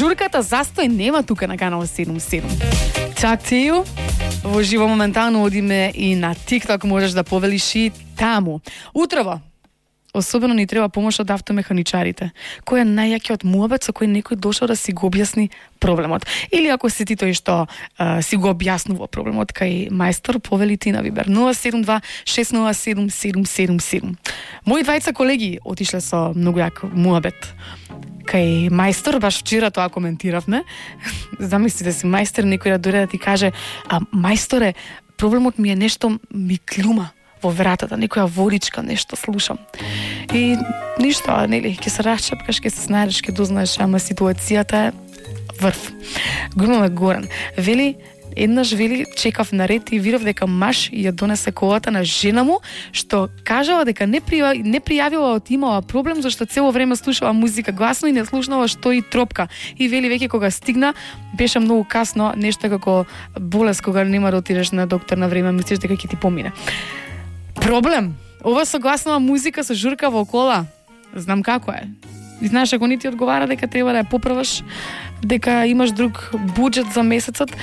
Журката застој нема тука на канал 77. Чак тију, во живо моментално одиме и на TikTok, можеш да повелиш и таму. Утрово, особено ни треба помош од автомеханичарите. Кој е најјакиот муабет со кој некој дошол да си го објасни проблемот? Или ако си ти тој што си го објаснува проблемот кај мајстор, повели ти на Вибер 072 607 777. Мои двајца колеги отишле со многу јак муабет кај мајстор, баш вчера тоа коментиравме. Замислите си, мајстор некој да дојде да ти каже: "А мајсторе, проблемот ми е нешто ми клюма во вратата, некоја водичка, нешто слушам." И ништо, нели, ќе се расчапкаш, ќе се снајдеш, ќе дознаеш, ама ситуацијата е врв. Го имаме Горан. Еднаш чекав на ред и видов дека маж ја донесе колата на жена му, што кажала дека не пријавила од имала проблем зашто цело време слушала музика гласно и не слушнала што и тропка. И веќе кога стигна, беше многу касно, нешто како болест кога нема да отидеш на доктор на време, мислиш дека ќе ти помине. Проблем. Ова согласнава музика со журка во кола. Знам како е. И знаеш, ако ни ти одговара дека треба да ја поправаш, дека имаш друг буџет за месецот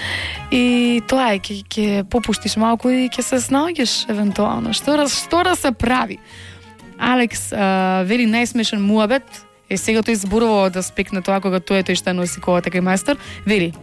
и тоа е, ќе попуштиш малку и ќе се снаоѓаш евентуално. Што да се прави? Алекс вели најсмешен муабет, сега тој зборува од аспект на тоа кога тој што носи колата кај мајстор, вели: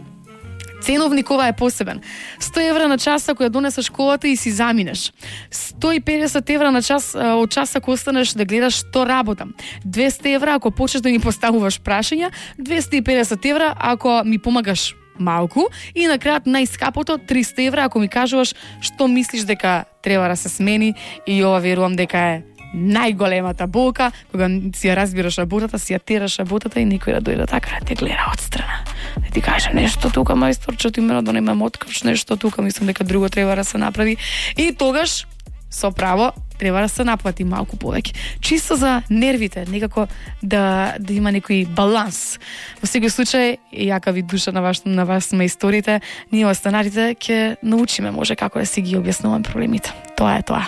ценовник ова е посебен. 100 евра на час ако ја донесеш колата и си заминеш. 150 евра на час од час ако останеш да гледаш што работам. 200 евра ако почнеш да ми поставуваш прашања. 250 евра ако ми помагаш малку. И на крајот најскапото 300 евра ако ми кажуваш што мислиш дека треба да се смени. И ова верувам дека е најголемата болка, кога си ја разбираш работата, си ја тераш работата и никој да дојде така да те гледа отстрана. Да ти каже нешто тука, мајсторче, ти мера да немам открш нешто тука, мислам дека друго треба да се направи. И тогаш, со право, треба да се наплати малку повеќе. Чисто за нервите, некако да има некој баланс. Во секој случај, јака ви душа на вас ме историте, ние останалите ќе научиме може како да си ги објаснуваме проблемите. Тоа е тоа.